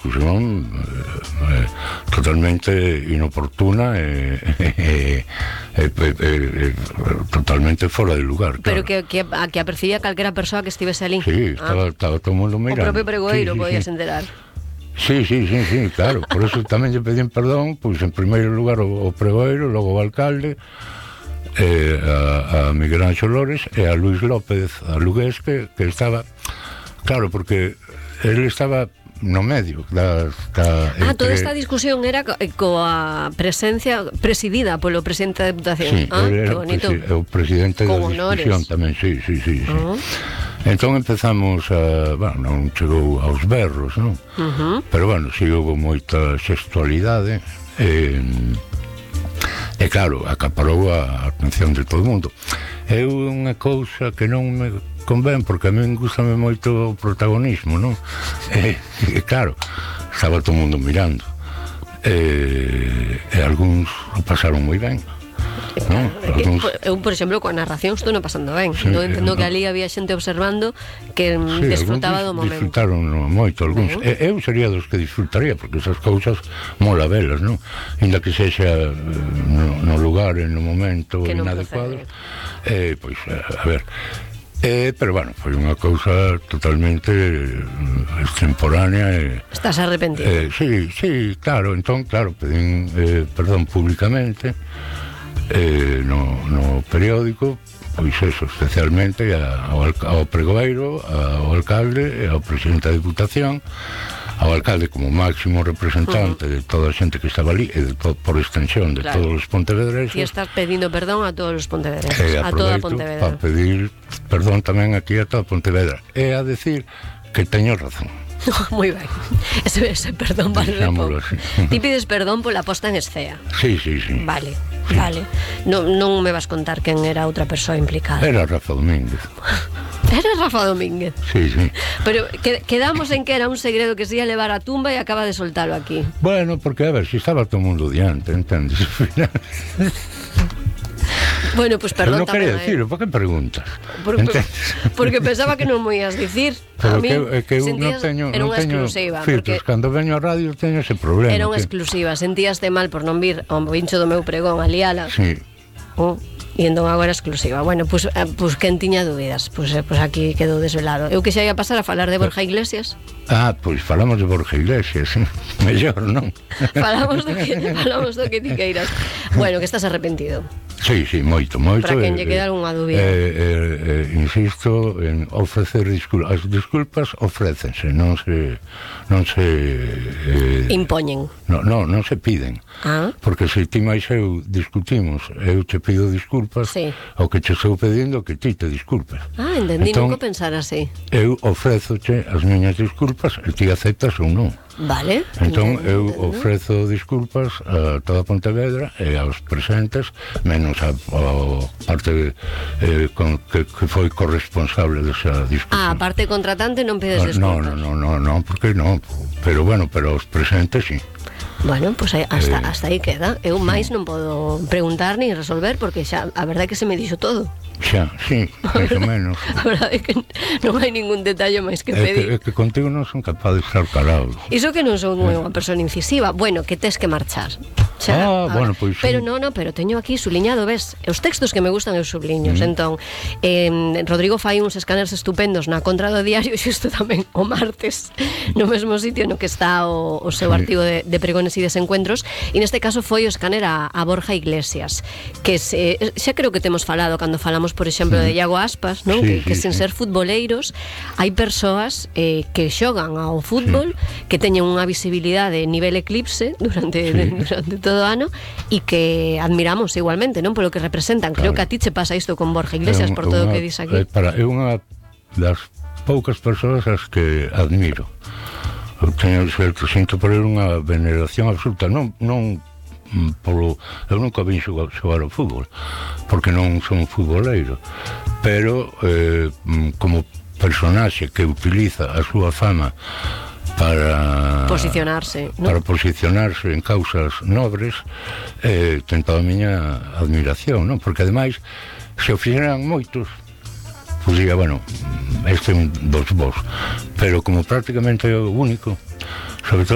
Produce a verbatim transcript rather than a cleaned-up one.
discusión eh, totalmente inoportuna e eh, eh, eh, eh, totalmente fora de lugar, pero claro. que, que, a, que apercibía calquera persoa que estivese ali. Sí, estaba, ah. estaba todo o mundo mirando. O propio pregoeiro sí, sí, podías sí. enterar. Sí, sí, sí, sí, claro. Por eso tamén lle pedín perdón, pois en primeiro lugar o, o pregoeiro, logo o alcalde, eh, a, a Miguel Anxo Lores e a Luis López, a Lugués, que, que estaba, claro, porque él estaba no medio da, da, ah, entre... toda esta discusión era co, coa presencia presidida polo presidente da Deputación. Sí, ah, que bonito. Presi, o presidente con da honores. discusión tamén, sí, sí, sí, sí. Uh-huh. Entón empezamos a, bueno, non chegou aos berros, non? Uh-huh. Pero bueno, si houve moita xestualidade e, e claro, acaparou a atención de todo o mundo. É unha cousa que non me convén, porque a min gustame moito o protagonismo, non? E, e claro, estaba todo o mundo mirando e, e algúns o pasaron moi ben. No, algúns... Eu, por exemplo, coa narración estou non pasando ben. Sí, non entendo no. que ali había xente observando que sí, disfrutaba do momento. Disfrutaron moito algúns. Uh-huh. Eu sería dos que disfrutaría, porque esas cousas mola velas, non? Inda que sexa no, no lugar, en no momento inadecuado. Eh, pois, a ver... Eh, pero bueno, foi unha cousa totalmente extemporánea e... Estás arrepentido? Eh, sí, sí, claro, entón, claro, pedín eh, perdón públicamente eh, no, no periódico, pois eso, especialmente ao, ao pregoeiro, ao alcalde e ao presidente da Diputación, ao alcalde como máximo representante uh-huh. de toda a xente que estaba ali e de to, por extensión de claro. Todos os pontevedreses. E estás pedindo perdón a todos os pontevedreses, eh, a toda Pontevedra. Para pedir perdón tamén aquí a toda Pontevedra e a decir que teño razón. Moi ben, ese, ese perdón vale pouco. Ti pides perdón pola posta en escena. Sí, sí, sí. Vale, sí. Vale. Non, non me vas contar quen era outra persoa implicada. Era Rafa Domínguez. Era Rafa Domínguez. Sí, sí. Pero que, quedamos en que era un segredo que se ia levar a tumba e acaba de soltalo aquí. Bueno, porque a ver, si estaba todo o mundo diante, entendes? Bueno, pues perdón tamén. Non quería dicirlo, por que preguntas? Porque, porque pensaba que non mo ias dicir. Pero a mí que, que eu non teño, non teño filtros, cando veño a radio teño ese problema. Era unha que... exclusiva, sentíaste mal por non vir ao vincho do meu pregón a liala. Sí. Oh. E entón agora exclusiva. Bueno, pois pues, pues, quen tiña dúbidas, pois pues, pues aquí quedou desvelado. Eu que xa ia pasar a falar de Borja Iglesias. Ah, pois pues falamos de Borja Iglesias, mellor, non? falamos do que falamos do que ti queiras. Bueno, que estás arrepentido. Sí, sí, moito, moito. Para quen lle queda algunha dúbida. Eh, eh, eh, insisto en ofrecer disculpas. As disculpas ofrécense, non se non se eh, impoñen. No, no, non se piden. Ah. Porque se ti máis eu discutimos, eu te pido disculpas, sí. O que te estou pedindo que ti te disculpes. Ah, entendí, entón, nunca pensar así. Eu ofrézoche as miñas disculpas e ti aceptas ou non. Vale. Entón eu ofrezo disculpas a toda Pontevedra e aos presentes, menos a, a parte eh, con, que, que foi corresponsable desa discusión. Ah, a parte contratante non pedes disculpas. No, no, no, no, no, porque non, pero bueno, pero os presentes sí. Bueno, pois pues hasta, eh, hasta aí queda. Eu máis non podo preguntar nin resolver porque xa a verdade é que se me dixo todo. Xa, sí, máis ou menos. A verdade é que non hai ningún detalle máis que pedir. É que, é que contigo non son capaz de estar calado. Iso que non son unha persona incisiva. Bueno, que tes que marchar. Xa, ah, bueno, pois pues, pero sí. non, non, pero teño aquí subliñado, ves? Os textos que me gustan eu subliños. Mm. Entón, eh, Rodrigo fai uns escáneres estupendos na contra do diario, xusto tamén o martes, no mesmo sitio no que está o, o seu sí. artigo de, de pregones e desencuentros, e neste caso foi o escáner a, a Borja Iglesias, que se, xa creo que temos falado cando falamos, por exemplo, mm. de Iago Aspas, non? Sí, que, que sí, sen sí. ser futboleiros hai persoas eh, que xogan ao fútbol, sí. que teñen unha visibilidade nivel eclipse durante, sí. durante todo o ano e que admiramos igualmente, non? Polo que representan. Claro. Creo que a ti che pasa isto con Borja Iglesias, un, por todo o que dis aquí. É, para, é unha das poucas persoas as que admiro. Eu teño certo, sinto por unha veneración absoluta, non, non polo, eu nunca vin xogar, xogar ao fútbol porque non son futboleiro, pero eh, como personaxe que utiliza a súa fama para posicionarse, ¿no? Para posicionarse en causas nobres, eh, ten toda a miña admiración, non? Porque ademais se o fixeran moitos, pues diga, bueno, este é un dos vos, pero como prácticamente é o único, sobre todo